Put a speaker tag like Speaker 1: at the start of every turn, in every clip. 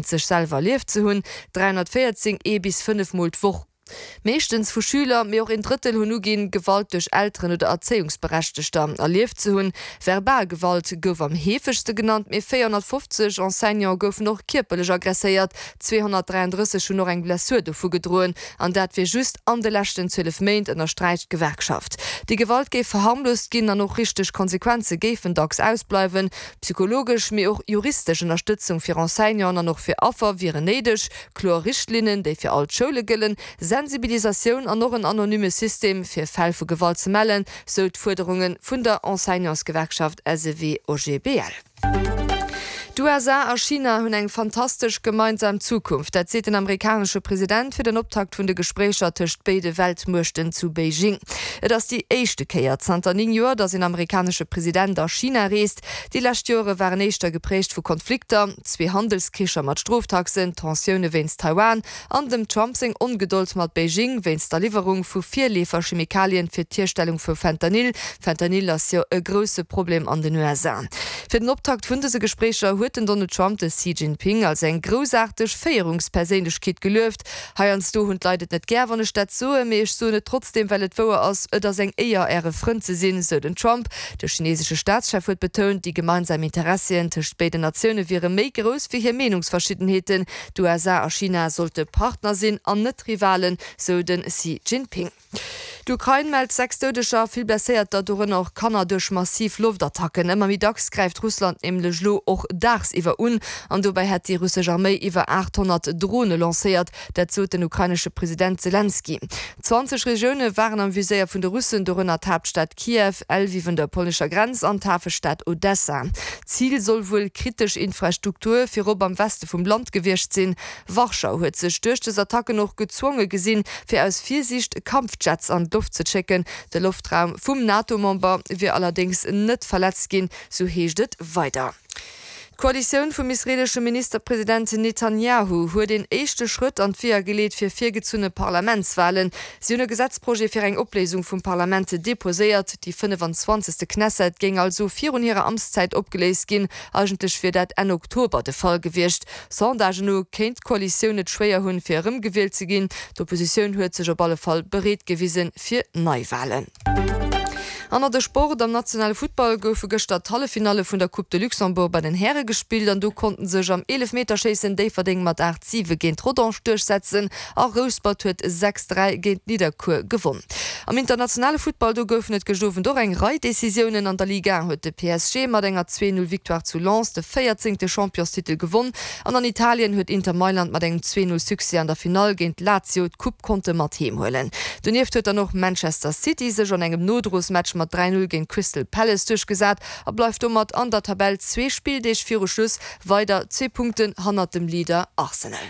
Speaker 1: Sech selwer erlieft ze hunn, 314 ee bis 5 Mol d'Woch, meeschtens vu Schüler, mee och een Drëttel hunn uginn, Gewalt duerch Elteren oder Erzéiungsberechtegter erlieft ze hunn. Verbal Gewalt gouf am heefegste genannt, mee 450 Enseignante goufen och kierperlech aggresséiert, 233 hunn och eng Blessur dovu gedroen, an dat wier just an de leschten 12 Méint, ënnersträicht d'Gewerkschaft. Déi Gewalt géif verharmloost ginn an och richteg Konsequenze géifen dacks ausbleiwen. Psychologesch, mee och juristesch Ënnerstëtzung fir Enseignanten an och fir Affer wieren néideg, kloer Richtlinnen, déi fir all d'Schoule gëllen, Sensibilisatioun an och en anonyme System, fir Fäll vu Gewalt ze mellen, sou d'Fuerderunge vun der Enseignantsgewerkschaft SEW-OGBL. D'USA a China hunn eng fantastesch gemeinsam Zukunft. Dat seet den amerikanesche President fir den Optakt vun de Gespréicher tëscht béide Weltmuechten zu Beijing. Et ass déi éischte Kéier zanter 9 Joer, datt een amerikanesche President a China reest. Déi lescht Joere waren éischter gepräägt vu Konflikter, zwee Handelskricher mat Stroftaxen, Tensioune wéinst Taiwan an dem Trump seng Ongedold mat Beijing wéinst der Liwwerung vu Virleefer-Chemikalien fir d'Hierstellung vu Fentanyl. Fentanyl ass jo e grousse Problem an den USA. Fir den Optakt vun dëse Gespréicher huet den Donald Trump de Xi Jinping als eng groussaarteg Féierungsperséinlechkeet gelueft. Heiansdo hunn d'Leit et net gär, wann ech dat soen, mee ech soen et trotzdeem, well et wouer ass, Et ass eng Éier, Äre Frënd ze sinn, sou den Trump. De chinesesche Staatschef huet betount, déi gemeinsam Interessien tëscht béiden Natioune wiere méi grouss wéi hir Meenungsverschiddenheeten. D'USA a China sollte Partner sinn an net Rivalen, sou de Xi Jinping. D'Ukrain mellt 6 Doudeger a vill Blesséierter, dorënner och Kanner, duerch massiv Loftattacken. Ëmmer méi dacks gräift Russland nämlech elo och daagsiwwer un an dobäi hätt déi russesch Arméi iwwer 800 Drone lancéiert. Dat sot den ukrainesche President Selenskyj. 20 Regioune waren am Viséier vun de Russen, dorënner d'Haaptstad Kiew, Lwiw un der polnescher Grenz an d'Hafestad Odessa. Zil soll wuel kritesch Infrastruktur, virop am Weste vum Land gewiescht sinn. Warschau huet sech duerch des Attacken och gezwonge gesinn, fir aus Virsiicht Kampfjets an d'Loft ze schécken. De Loftraum vum NATO-Member wier allerdéngs net verletzt ginn, sou heescht et weider. D'Koalitioun vum israeelesche Ministerpresident Netanjahu huet een éischte Schrëtt an d'Weeër geleet fir virgezunne Parlamentswalen. Si hunn e Gesetzprojet fir eng Opléisung vum Parlament deposéiert. Déi 25. Knesset géing also virun hirer Amtszäit opgeléist ginn. Eigentlech wier dat Enn Oktober de Fall gewiescht. Sondagen no kéint d'Koalitioun et schwéier hunn, fir erëmgewielt ze ginn. D'Oppositioun huet sech op alle Fall bereet gewisen fir Neiwalen. An nach de Sport, Am nationale Futtball goufe gëschter d'Halleffinalle vun der Coupe de Luxembourg bei den Häre gespillt an do konnten sech am Eelefmeterschéissen Déifferdeng mat 8, 7 géint Rodange duerchsetzen a Rouspert huet 6, 3 géint Nidderkuer gewonn. Am internationale Futtball do goufen et gëscht Owend och eng Rei Decisiounen. An der Ligue 1 huet de PSG mat enger 2, 0 Victoire zu Lens de véierzéngte Championstitel gewonn an an Italien huet Inter Mailand mat engem 2, 0 Succès an der Finall géint Lazio d'Coupe konnte mat heem huelen. Donieft huet dann och Manchester City sech an engem Nodrosmatch mat 3, 0 géint Crystal Palace duerchgesat a bleift domat an der Tabell zwee Spilldeeg viru Schluss weider zwee Punkten hannert dem Leader Arsenal.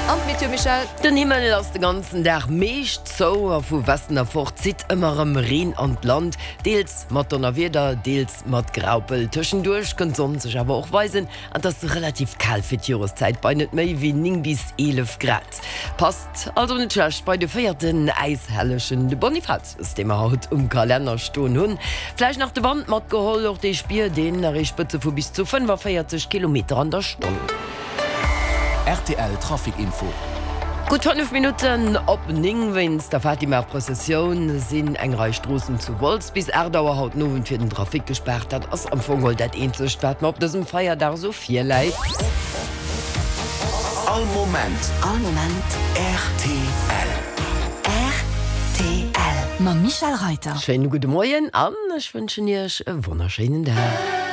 Speaker 1: An d'Meteo, Michèle?
Speaker 2: Den Himmel ass de ganzen Dag meescht zou a vu Westen erfort zitt ëmmer erëm Reen an d'Land, deels mat Donnerwieder, deels mat Graupel. Tëschenduerch kënnt d'Sonn sech awer och weisen an et ass relativ kal fir d'Joreszäit bei net méi wéi 9 bis 11 Grad. Passt also net schlecht bei de véierten Äishellegen, de Bonifatius, dee mer haut um Kalenner stoen hunn. Vläicht nach de Wand matgeholl, och dee spiert een, erreecht Spëtze vu bis zu 45 Kilometer an der Stonn.
Speaker 3: Rtl Trafic Info.
Speaker 2: Gutt 5 Minutten op 9. Wéinst der Fatima-Prëssessioun sinn eng Rei Stroossen zu Wolz bis 8 Auer haut den Owend fir den Trafic gespaart. Dat ass am Fong geholl dat eenzegt, wat mer op dësem Feierdag esou virläit.
Speaker 3: All Moment.
Speaker 4: All Moment.
Speaker 3: Rtl.
Speaker 4: Rtl. Mam Michèle Reiter.
Speaker 2: Schéine gudde Moien an ech wënschen Iech e wonnerschéinen Dag.